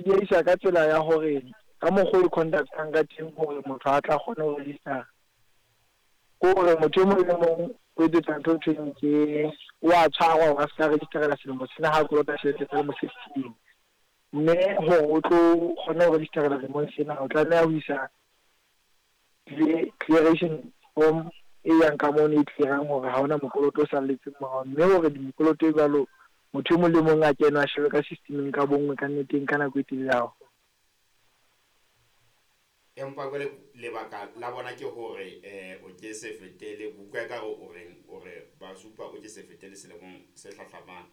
E diehisa ka tsela ya hore ka mokgwa o e conduct-ang ka teng hore motho a tla kgone ho register-a, ke hore motho e mong le mong o etsetsa ntho e thweng ke o a tshwarwa hore a se ka register-ela selemo sena ha a kolota tjhelete tsa selemo se fetileng. Mme hore o tlo kgone ho register-ela lemong sena, o tlameha ho isa clearation form e yang ka mono e clear-ang hore ha hona mokoloto o salletseng morao. Mme hore mekoloto e jwalo motho e mong le mong a kene a shebe ka system-eng ka bonngwe ka nnete e nka nako e telele haholo. Empa jwale lebaka la bona ke hore o ke se fetele, ke utlwa ekare o reng, o re ba supa o ke se fetele selemong se hlahlamang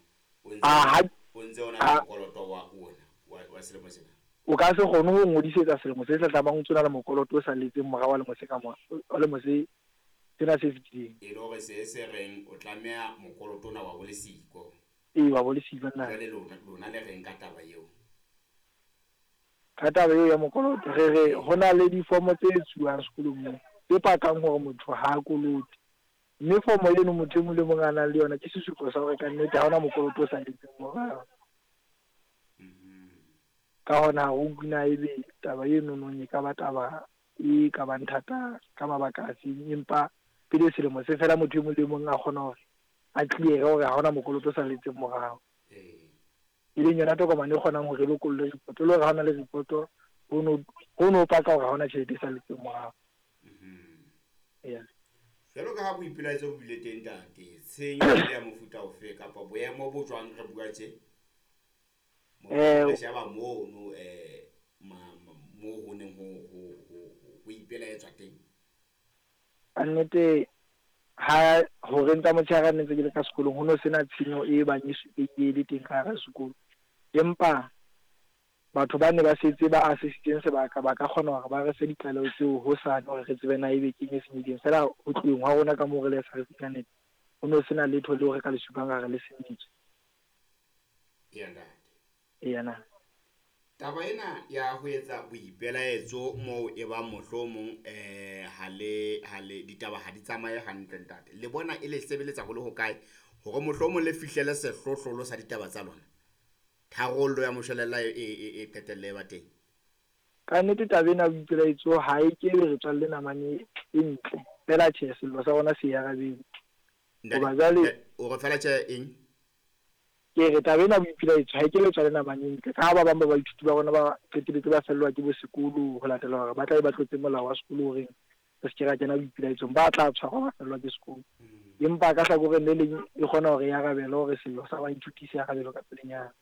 o ntse o ntse o na le mokoloto wa ona wa selemo sena. O ka se kgone ho ngodisetsa selemo se hlahlamang o ntse o na le mokoloto o salletseng morao wa lemo se ka wa lemo se sena se fetileng. E le hore se se reng o tlameha mokoloto ona wa bo le siko. Ee, wa bo le siko nna. Jwale lona lona le reng ka taba eo? Ka taba eo ya mokoloto re re ho na le difomo tse etsuwang sekolong moo tse pakang hore motho ha a kolote. Mme fomo eno motho e mong le mong a nang le yona ke sesupo sa hore kannete ha hona mokoloto o salletseng morao. Ka hona ha re utlwe na ebe taba eno nong e ka ba taba e ka bang thata ka mabaka a feng, empa pele selemo se fela motho e mong le mong a kgona hore a clear-e hore ha hona mokoloto o salletseng morao. E leng yona tokomane e kgonang hore e lokolle report, e le hore ha hona le report ho no paka hore ha hona tjhelete e salletseng morao. Yeah. Jwalo ka ha boipelaetso bo bile teng ntate, tshenyo e ile ya mofuta ofe kapa boemo bo jwang re bua tje? Re sheba mono moo ho neng ho ipelaetswa teng. Ka nnete ha horeng tsa motshehare ne ntse ke le ka sekolong ho no sena tshenyo e bang e supehile e le teng ka hara sekolo. Empa batho ba ne ba setse ba assessitseng sebaka ba ka kgona hore ba re fe ditlaleho tseo hosane hore re tsebe na ebe keng e senyehileng. Feela ho tloheng hwa rona ka moo re le SRC ka nnete ho no sena letho leo re ka le supang ra re le senyetswe. Eya ntate. Eya na. Taba ena ya ho etsa boipelaetso moo e bang mohlomong ha le ha le ditaba ha di tsamaye hantle ntate. Le bona e le sebeletsa ho le hokae hore mohlomong le fihlele sehlohlolo sa ditaba tsa lona? Tharollo ya moshwelella e e e qetelle e ba teng. Ka nnete taba ena ya boipelaetso ha e ke be re tswalle namane e ntle. Feela tjhe sello sa rona se e arabetse. Hoba jwale O re feela tjhe eng? Ke re taba ena ya boipelaetso ha e ke be tswale namane e ntle ka ha ba bang ba baithuti ba rona ba qeteletse ba fellwa ke bo sekolo ho latela hore ba tla be ba tlotse molao wa sekolo o reng re se ke ra kena boipelaetsong, ba tla tshwarwa ba fellwa ke sekolo. Empa ka hlakoreng le leng e kgona hore e arabele hore sello sa baithuti se arabelwe ka pelenyana.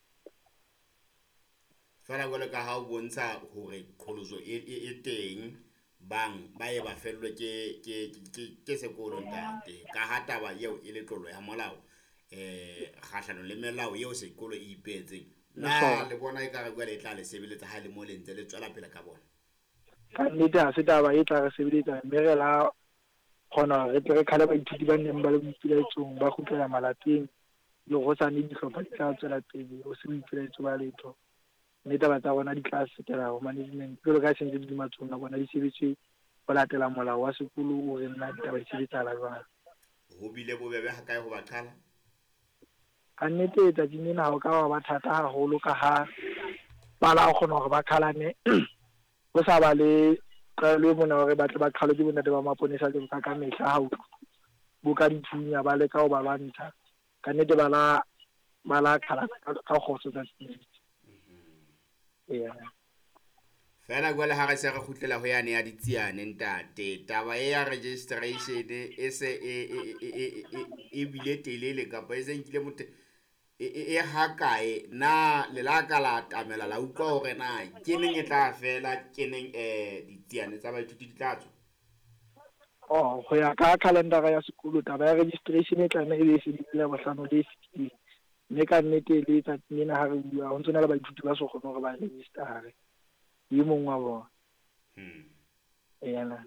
Feela jwalo ka ha o bontsha hore qholotso e, e, e teng, bang ba ye ba fellwe ke, ke, ke, ke sekolo ntate. Ka ha taba eo e le tlolo ya molao, kgahlanong le melao eo sekolo e ipeetseng. Na le bona ekare jwale e tla le sebeletsa ha e le mo le ntse le tswela pele ka bona? Ka nnete ha se taba e tla re sebeletsa mme re la kgona hore re tle re qhale baithuti ba neng ba le boipelaetsong ba kgutlela malapeng le hosane dihlopha di tla tswela pele ho se boipelaetso ba letho mme taba tsa rona di tla fetela ho management jwalo ka ha se ntse di le matsohong a bona di sebetswe ho latela molao wa sekolo o reng na ditaba di sebetsahala jwang. Ho bile bobebe hakae ho ba qhala? Ka nnete tsatsing lena ha o ka wa ba thata haholo ka ha ba la kgona hore ba qhalane ho sa ba le tlwaelo e mona hore ba tle ba qhalwe ke bontate ba maponesa jwalo ka kamehla ha o boka dithunya ba leka ho ba lwantsha. Ka nnete ba la ba la qhalana ka kgotso tsatsing lena. Eya. Fela jwale ha re se re kgutlela ho yane ya ditsiane ntate, taba e ya registration e se e e e e e e bile telele kapa e se nkile motho e e e hakae? Na le la ka la atamela la utlwa hore na ke neng e tla fela, ke neng ditsiane tsa baithuti di tla tswa? Oh, ho ya ka calendar ya sekolo taba ya registration e tlameha e be e fedile Labohlano le fetileng. Mme ka nnete le tsatsing lena ha re bua ho ntso na le baithuti ba so kgone hore ba register-e. Ke e mong wa bona. Eya na.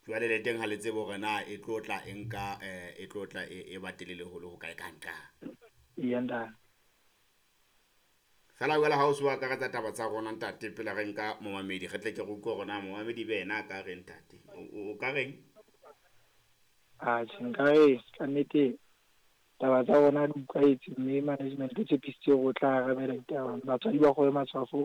Jwale le teng ha le tsebe hore na e tlo tla e nka e tlo tla e e ba telele ho le hokae ka nqa. Eya ntate. Fela jwale ha o se o akaretsa taba tsa rona ntate pele re nka momamedi re tle ke re utlwe hore na momamedi be yena a ka reng ntate. O ka reng? Atjhe nka re ka nnete taba tsa rona di utlwahetse mme management e tshepisitse hore o tla arabela ditaba. Batswadi ba kgobe matshwafo.